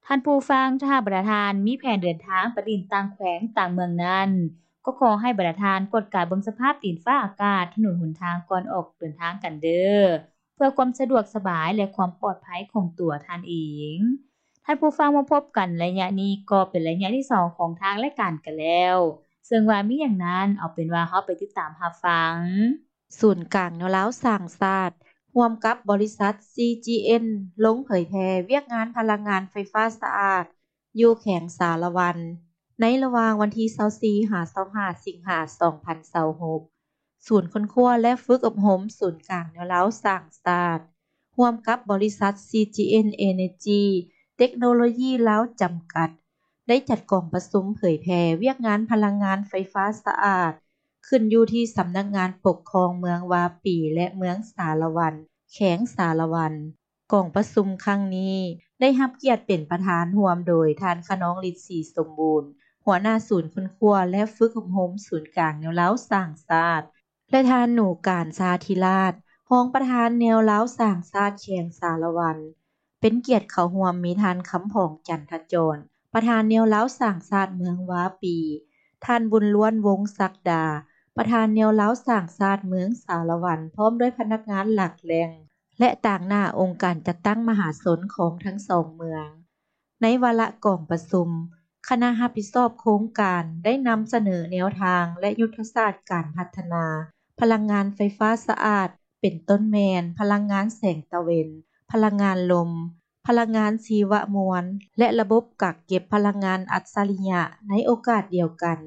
ທ່ານຜູ້ຟັງ, ຖ້າຫາກບັນດາທ່ານມີແຜນເດີນທາງໄປຫຼິ້ນຕ່າງແຂວງຕ່າງເມືອງນັ້ນ, ກໍຂໍໃຫ້ບັນດາທ່ານກວດກາເບິ່ງສະພາບດິນຟ້າອາກາດ, ຖະໜົນຫົນທາງກ່ອນອອກເດີນທາງກັນເດີ້ ເພື່ອຄວາມສະດວກສະບາຍ ແລະ ຄວາມປອດໄພຂອງຕົວທ່ານເອງ. ທ່ານຜູ້ຟັງ, ມາພົບກັນໄລຍະນີ້ກໍເປັນໄລຍະທີສອງຂອງທາງລາຍການກັນແລ້ວ, ເຊິ່ງວ່າມີຫຍັງນັ້ນ, ເອົາເປັນວ່າເຮົາໄປຕິດຕາມຮັບຟັງ. ສູນກາງແນວລາວສ້າງຊາດ ຮ່ວມກັບບໍລິສັດ ຊີຈີເອັນ ລົງເຜີຍແຜ່ວຽກງານພະລັງງານໄຟຟ້າສະອາດ ຢູ່ແຂວງສາລະວັນ ໃນລະຫວ່າງວັນທີຊາວສີ່ ຫາ ຊາວຫ້າ ສິງຫາ ສອງພັນຊາວຫົກ. ສູນຄົ້ນຄວ້າ ແລະ ຝຶກອົບຮົມສູນກາງແນວລາວສ້າງຊາດ ຮ່ວມກັບບໍລິສັດ ຊີຈີເອັນ ເອເນີຈີ ເຕັກໂນໂລຢີລາວ ຈຳກັດ ໄດ້ຈັດກອງປະຊຸມເຜີຍແຜ່ວຽກງານພະລັງງານໄຟຟ້າສະອາດ ຂຶ້ນຢູ່ທີ່ສຳນັກງານປົກຄອງເມືອງວາປີ ແລະ ເມືອງສາລະວັນ, ແຂວງສາລະວັນ. ກອງປະຊຸມຄັ້ງນີ້ໄດ້ຮັບກຽດເປັນປະທານຮ່ວມໂດຍທ່ານ ຂະນອງລິດ ສີສົມບູນ ຫົວໜ້າສູນຄົ້ນຄວ້າ ແລະ ຝຶກອົບຮົມສູນກາງແນວລາວສ້າງຊາດ ແລະ ທ່ານ ໜູການ ຊາທິລາດ ຮອງປະທານແນວລາວສ້າງຊາດແຂວງສາລະວັນ. ເປັນກຽດເຂົ້າຮ່ວມມີທ່ານ ຄຳພອງ ຈັນທະຈອນ ປະທານແນວລາວສ້າງຊາດເມືອງວາປີ, ທ່ານ ບຸນລ້ວນ ວົງສັກດາ ປະທານແນວລາວສ້າງຊາດເມືອງສາລະວັນ ພ້ອມດ້ວຍພະນັກງານຫຼັກແຫຼ່ງ ແລະ ຕາງໜ້າອົງການຈັດຕັ້ງມະຫາຊົນຂອງທັງສອງເມືອງ. ໃນວາລະກອງປະຊຸມ, ຄະນະຮັບຜິດຊອບໂຄງການໄດ້ນຳສະເໜີແນວທາງ ແລະ ຍຸດທະສາດການພັດທະນາພະລັງງານໄຟຟ້າສະອາດ ເປັນຕົ້ນແມ່ນພະລັງງານແສງຕາເວັນ, ພະລັງງານລົມ, ພະລັງງານຊີວະມວນ ແລະ ລະບົບກັກເກັບພະລັງງານອັດສະລິຍະ. ໃນໂອກາດດຽວກັນ,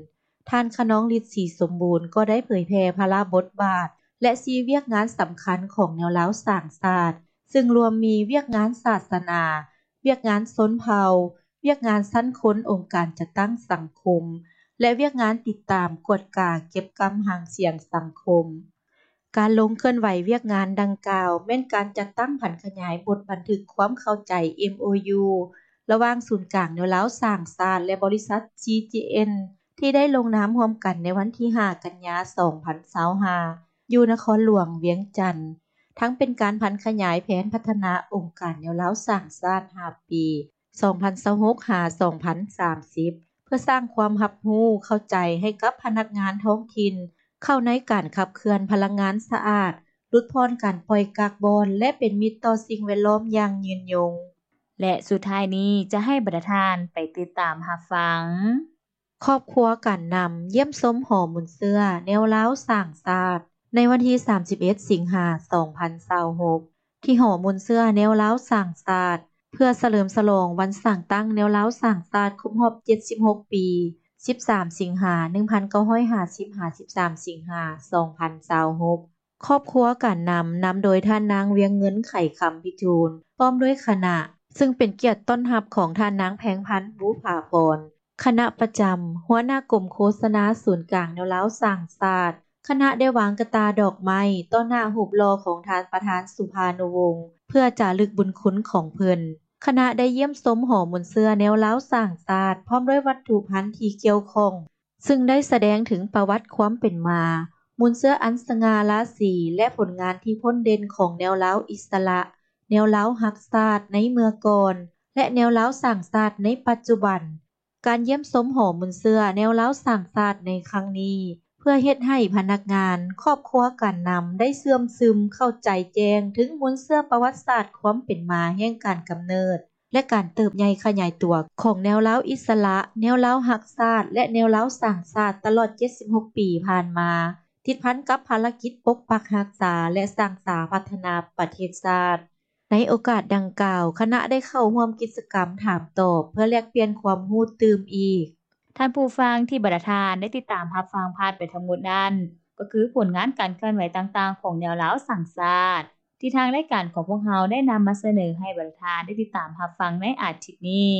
ທ່ານ ຂະນອງລິດ ສີສົມບູນ ກໍໄດ້ເຜີຍແຜ່ພາລະບົດບາດ ແລະ ສີ່ວຽກງານສຳຄັນຂອງແນວລາວສ້າງຊາດ, ຊຶ່ງລວມມີວຽກງານສາສະໜາ, ວຽກງານຊົນເຜົ່າ, ວຽກງານຊັ້ນຄົນອົງການຈັດຕັ້ງສັງຄົມ ແລະ ວຽກງານຕິດຕາມ, ກວດກາ, ເກັບກຳຫາງສຽງສັງຄົມ. ການລົງເຄື່ອນໄຫວວຽກງານດັ່ງກ່າວ ແມ່ນການຈັດຕັ້ງຜັນຂະຫຍາຍບົດບັນທຶກຄວາມເຂົ້າໃຈ ເອັມໂອຢູ ລະຫວ່າງສູນກາງແນວລາວສ້າງຊາດ ແລະ ບໍລິສັດ ຊີຈີເອັນ ທີ່ໄດ້ລົງນາມຮ່ວມກັນໃນວັນທີຫ້າ ກັນຍາ ສອງພັນຊາວຫ້າ ຢູ່ນະຄອນຫຼວງວຽງຈັນ, ທັງເປັນການຜັນຂະຫຍາຍແຜນພັດທະນາອົງການແນວລາວສ້າງຊາດຫ້າປີ ສອງພັນຊາວຫົກ ຫາ ສອງພັນສາມສິບ ເພື່ອສ້າງຄວາມຮັບຮູ້ເຂົ້າໃຈໃຫ້ກັບພະນັກງານທ້ອງຖິ່ນ ເຂົ້າໃນການຂັບເຄື່ອນພະລັງງານສະອາດ, ຫຼຸດຜ່ອນການປ່ອຍກາກບອນ ແລະ ເປັນມິດຕໍ່ສິ່ງແວດລ້ອມຢ່າງຍືນຍົງ. ແລະ ສຸດທ້າຍນີ້ຈະໃຫ້ບັນດາທ່ານໄປຕິດຕາມຮັບຟັງ. ຄອບຄົວການນຳຢ້ຽມຊົມຫໍມູນເຊື້ອແນວລາວສ້າງຊາດ ໃນວັນທີສາມສິບເອັດ ສິງຫາ ສອງພັນຊາວຫົກ ທີ່ຫໍມູນເຊື້ອແນວລາວສ້າງຊາດ ເພື່ອສະເຫຼີມສະຫຼອງວັນສ້າງຕັ້ງແນວລາວສ້າງຊາດຄົບຮອບເຈັດສິບຫົກປີ ສິບສາມ ສິງຫາ ໜຶ່ງພັນເກົ້າຮ້ອຍຫ້າສິບ ຫາ ສິບສາມ ສິງຫາ ສອງພັນຊາວຫົກ. ຄອບຄົວການນຳ ນຳໂດຍທ່ານນາງ ວຽງເງິນ ໄຂຄຳພິທູນ ພ້ອມດ້ວຍຄະນະ, ຊຶ່ງເປັນກຽດຕ້ອນຮັບຂອງທ່ານນາງ ແພງພັນ ບູຜາພອນ ຄະນະປະຈຳ, ຫົວໜ້າກົມໂຄສະນາສູນກາງແນວລາວສ້າງຊາດ. ຄະນະໄດ້ວາງກະຕ່າດອກໄມ້ຕໍ່ໜ້າຮູບຫຼໍ່ຂອງທ່ານປະທານ ສຸພານຸວົງ ເພື່ອຈາລຶກບຸນຄຸນຂອງເພິ່ນ. ຄະນະໄດ້ຢ້ຽມຊົມຫໍມູນເຊື້ອແນວລາວສ້າງຊາດ ພ້ອມດ້ວຍວັດຖຸພັນທີ່ກ່ຽວຂ້ອງ, ຊຶ່ງໄດ້ສະແດງເຖິງປະຫວັດຄວາມເປັນມາ, ມູນເຊື້ອອັນສະຫງ່າລາສີ ແລະ ຜົນງານທີ່ພົ້ນເດັ່ນຂອງແນວລາວອິດສະຫຼະ, ແນວລາວຮັກຊາດໃນເມື່ອກ່ອນ ແລະ ແນວລາວສ້າງຊາດໃນປັດຈຸບັນ. ການຢ້ຽມຊົມຫໍມູນເຊື້ອແນວລາວສ້າງຊາດໃນຄັ້ງນີ້ ເພື່ອເຮັດໃຫ້ພະນັກງານ, ຄອບຄົວການນຳ ໄດ້ເຊື່ອມຊຶມເຂົ້າໃຈແຈ້ງເຖິງມູນເຊື້ອປະຫວັດສາດຄວາມເປັນມາແຫ່ງການກຳເນີດ ແລະ ການເຕີບໃຫຍ່ຂະຫຍາຍຕົວຂອງແນວລາວອິດສະຫຼະ, ແນວລາວຮັກຊາດ ແລະ ແນວລາວສ້າງຊາດຕະຫຼອດເຈັດສິບຫົກປີຜ່ານມາ, ຕິດພັນກັບພາລະກິດປົກປັກຮັກສາ ແລະ ສ້າງສາພັດທະນາປະເທດຊາດ. ໃນໂອກາດດັ່ງກ່າວ, ຄະນະໄດ້ເຂົ້າຮ່ວມກິດຈະກຳຖາມຕອບ ເພື່ອແລກປ່ຽນຄວາມຮູ້ຕື່ມອີກ. ທ່ານຜູ້ຟັງທີ່ບັນດາທ່ານໄດ້ຕິດຕາມຮັບຟັງຜ່ານໄປທັງໝົດນັ້ນ, ກໍຄືຜົນງານການເຄື່ອນໄຫວຕ່າງໆຂອງແນວລາວສ້າງຊາດ ທີ່ທາງລາຍການຂອງພວກເຮົາໄດ້ນຳມາສະເໜີໃຫ້ບັນດາທ່ານໄດ້ຕິດຕາມຮັບຟັງໃນອາທິດນີ້.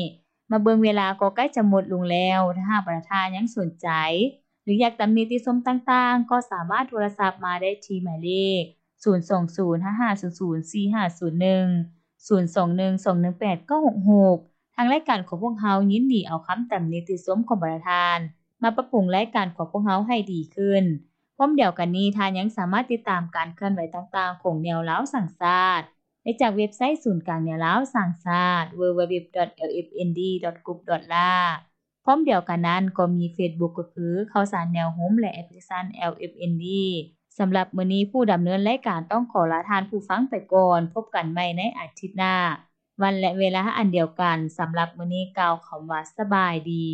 ມາເບິ່ງເວລາກໍໃກ້ຈະໝົດລົງແລ້ວ. ຖ້າຫາກບັນດາທ່ານຍັງສົນໃຈ ຫຼື ຢາກຕຳໜິຕິຊົມຕ່າງໆ, ກໍສາມາດໂທລະສັບມາໄດ້ທີ່ໝາຍເລກ ສູນສອງສູນ ຫ້າຫ້າສູນສູນ ສີ່ຫ້າສູນໜຶ່ງ, ສູນສອງໜຶ່ງສອງໜຶ່ງແປດ ເກົ້າຫົກຫົກ. ທາງລາຍການຂອງພວກເຮົາຍິນດີເອົາຄຳຕຳໜິຕິຊົມຂອງບັນດາທ່ານ ມາປັບປຸງລາຍການຂອງພວກເຮົາໃຫ້ດີຂຶ້ນ. ພ້ອມດຽວກັນນີ້, ທ່ານຍັງສາມາດຕິດຕາມການເຄື່ອນໄຫວຕ່າງໆຂອງແນວລາວສ້າງຊາດ ຈາກເວັບໄຊສູນກາງແນວລາວສ້າງຊາດ www.lfnd.group.la ພ້ອມດຽວກັນນັ້ນກໍມີເຟສບຸກ ກໍຄື ຂ່າວສານແນວໂຮມ ແລະ ແອັບພລິເຄຊັນ LFND. ສຳລັບມື້ນີ້ ຜູ້ດຳເນີນລາຍການຕ້ອງຂໍລາທ່ານຜູ້ຟັງໄປກ່ອນ. ພົບກັນໃໝ່ໃນອາທິດໜ້າ ວັນ ແລະ ເວລາອັນດຽວກັນ. ສຳລັບມື້ນີ້ກ່າວຄຳວ່າສະບາຍດີ.